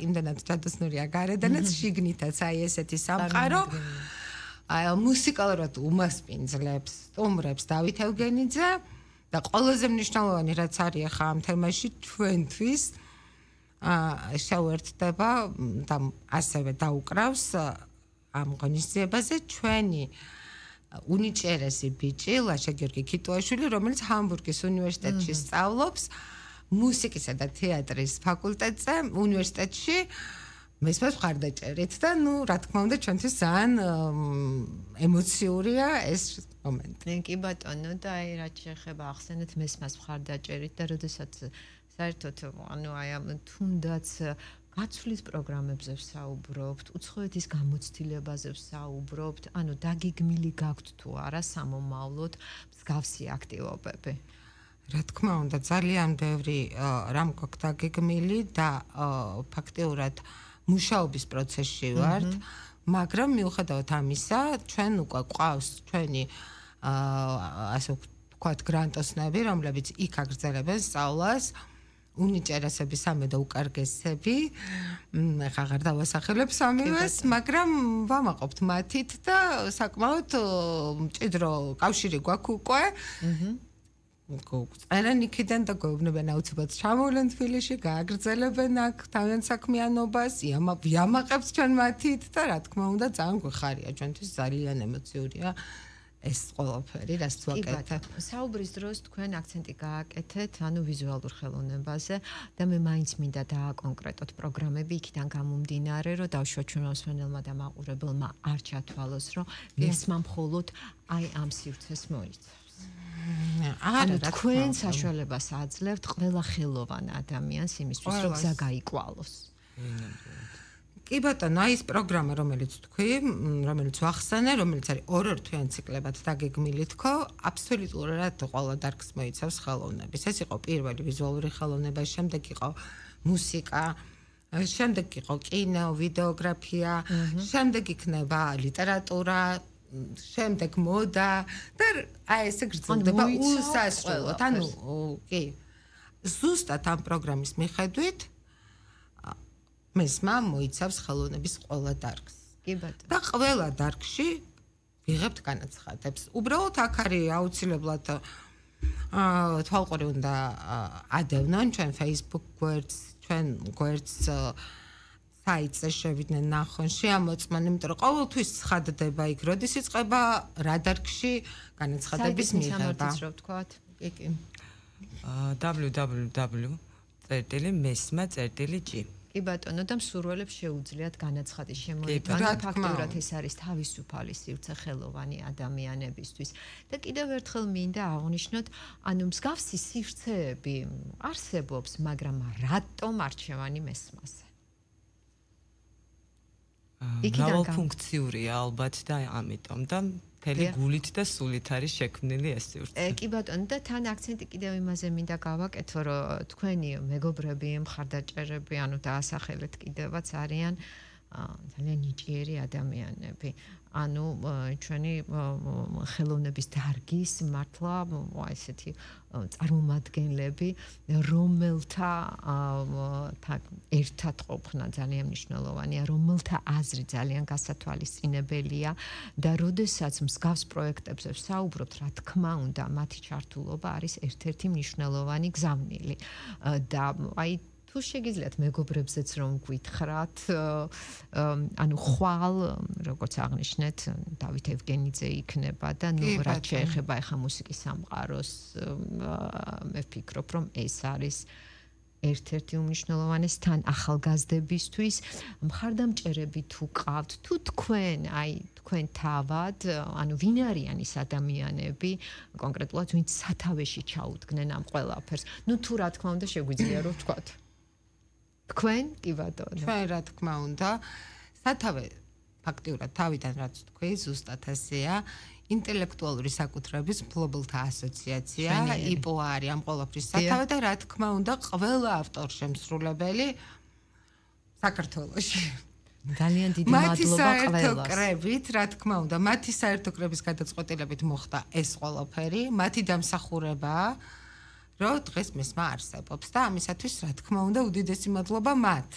იმდანაც ჯადოსნურია გარედანაც შიგნითაც აი ესეთი სამყარო აი მუსიკალურად უმასპინძლებს სტუმრებს დავით ევგენიძე და ყველაზე მნიშვნელოვანი რაც არის ახლა ამ თემაში ჩვენთვის შევერთდება და ასევე დაუკრავს ამ ღონისძიებაზე ჩვენი უნიჭერესი ბიჭი ლაშა გიორგი ქიტუაშვილი რომელიც ჰამბურგის უნივერსიტეტში სწავლობს მუსიკისა და თეატრის ფაკულტეტზე უნივერსიტეტში მესმას მხარდაჭერით და ნუ რა თქმა უნდა ჩვენთვის ძალიან ემოციურია ეს მომენტი. კი ბატონო და აი რაც შეეხება ახსენეთ მესმას მხარდაჭერით და როდესაც საერთოდ ანუ აი ამ თუნდაც გაცვლის პროგრამებზე ვსაუბრობთ, უცხოეთის გამოცდილებაზე ვსაუბრობთ, ანუ დაგეგმილი გაქვთ თუ არა სამომავლოდ მსგავსი აქტივობები. რა თქმა უნდა ძალიან ბევრი რამ გვაქვს დაგეგმილი და ფაქტიურად მუშაობის პროცესში ვართ, მაგრამ მიუხედავად ამისა, ჩვენ უკვე ყავს ჩვენი ასე ვთქვათ გრანტოსნები, რომლებიც იქ აგრძელებენ სწავლას, უნიჭერესები სამე და უკარგესები, ეხლა აღარ დავასახელებ სამივეს, მაგრამ ვამაყობთ მათით და საკმაოდ მჭიდრო კავშირი გვაქვს უკვე. წერენ იქიდან და გვეუბნებიან აუცილებლად ჩამოვლენ თბილისში, გააგრძელებენ აქ თავიანთ საქმიანობას, ვიამაყებთ ჩვენ მათით და რა თქმა უნდა ძალიან გვეხარია, ჩვენთვის ძალიან ემოციურია ეს ყველაფერი, რაც ვაკეთებ. საუბრის დროს თქვენ აქცენტი გააკეთეთ, ანუ ვიზუალურ ხელოვნებაზე და მე მაინც მინდა დააკონკრეტოთ პროგრამები იქიდან გამომდინარე, რომ დავშვა ჩვენ მოსვენელმა და მაყურებელმა არ ჩათვალოს, რომ მესმა მხოლოდ აი ამ სივრცეს მოიცავს. ანუ თქვენ საშუალებას აძლევთ ყველა ხელოვან ადამიანს იმისთვის, რომ გზა გაიკვალოს. კი ბატონო, აი ეს პროგრამა, რომელიც თქვი, რომელიც ვახსენე, რომელიც არის ორ თვიან ციკლებად დაგეგმილი თქო, აბსოლუტურად ყველა დარგს მოიცავს ხელოვნების. ეს იყო პირველი ვიზუალური ხელოვნება, შემდეგ იყო მუსიკა, შემდეგ იყო კინო, ვიდეოგრაფია, შემდეგ იქნება ლიტერატურა, შემდეგ მოდა და აი ესე გრძელდება უსასრულოდ. ანუ კი. ზუსტად ამ პროგრამის მიხედვით მესმა მოიცავს ხელოვნების ყველა დარგს. კი ბატონო. და ყველა დარგში ვიღებთ განაცხადებს. უბრალოდ აქ არის აუცილებლად თვალყური უნდა ადევნონ ჩვენ Facebook გვერდს, ჩვენ გვერდს საიტზე შევიდნენ ნახონ, შეამოწმონ, იმიტომ რომ ყოველთვის ცხადდება იქ, როდის იწყება რა დარგში განაცხადების მიღება. კი. www.mesma.g კი ბატონო და მსურველებს შეუძლიათ განაცხადის შემოიტანა ფაქტურად ეს არის თავისუფალი სივრცე ხელოვანი ადამიანებისთვის და კიდევ ერთხელ მინდა აღვნიშნოთ ანუ მსგავსი სივრცეები არსებობს მაგრამ რატომ არჩევანი მესმაზე მრავალფუნქციურია ალბათ და ამიტომ და მთელი გულით და სულით არის შექმნილი ეს სივრცე. კი ბატონო და თან აქცენტი კიდევ იმაზე მინდა გავაკეთო რომ თქვენი მეგობრები მხარდაჭერები ანუ დაასახელეთ კიდევაც არიან ძალიან ნიჭიერი ადამიანები. ანუ ჩვენი ხელოვნების დარგის მართლა ესეთი წარმომადგენლები რომელთა ერთად ყოფნა ძალიან მნიშვნელოვანია რომელთა აზრი ძალიან გასათვალისწინებელია და როდესაც მსგავს პროექტებზე ვსაუბრობთ რა თქმა უნდა მათი ჩართულობა არის ერთ-ერთი მნიშვნელოვანი გზავნილი და აი თუ შეგიძლიათ მეგობრებზეც რომ გვითხრათ ანუ ხვალ როგორც აღნიშნეთ დავით ევგენიძე იქნება და ნუ რაც შეეხება ახლა მუსიკის სამყაროს მე ვფიქრობ რომ ეს არის ერთ-ერთი უმნიშვნელოვანესი თან ახალგაზრდებისთვის მხარდამჭერები თუ ყავთ თუ თქვენ აი თქვენ თავად ანუ ვინ არიან ის ადამიანები კონკრეტულად ვინც სათავეში ჩაუდგნენ ამ ყველაფერს ნუ თუ რა თქმა უნდა შეგვიძლია რომ ვთქვათ თქვენ კი ბატონო ჩვენ რა თქმა უნდა სათავე ფაქტიურად თავიდან რაც თქვი ზუსტად ასეა ინტელექტუალური საკუთრების მფლობელთა ასოციაცია იპო არის ამ ყველაფრის სათავე და რა თქმა უნდა ყველა ავტორშემსრულებელი საქართველოში ძალიან დიდი მადლობა ყველას კრებით რა თქმა უნდა მათი საერთო კრების გადაწყვეტილებით მოხდა ეს ყველაფერი მათი დამსახურებაა რომ დღეს მესმა არსებობს და ამისათვის რა თქმა უნდა უდიდესი მადლობა მათ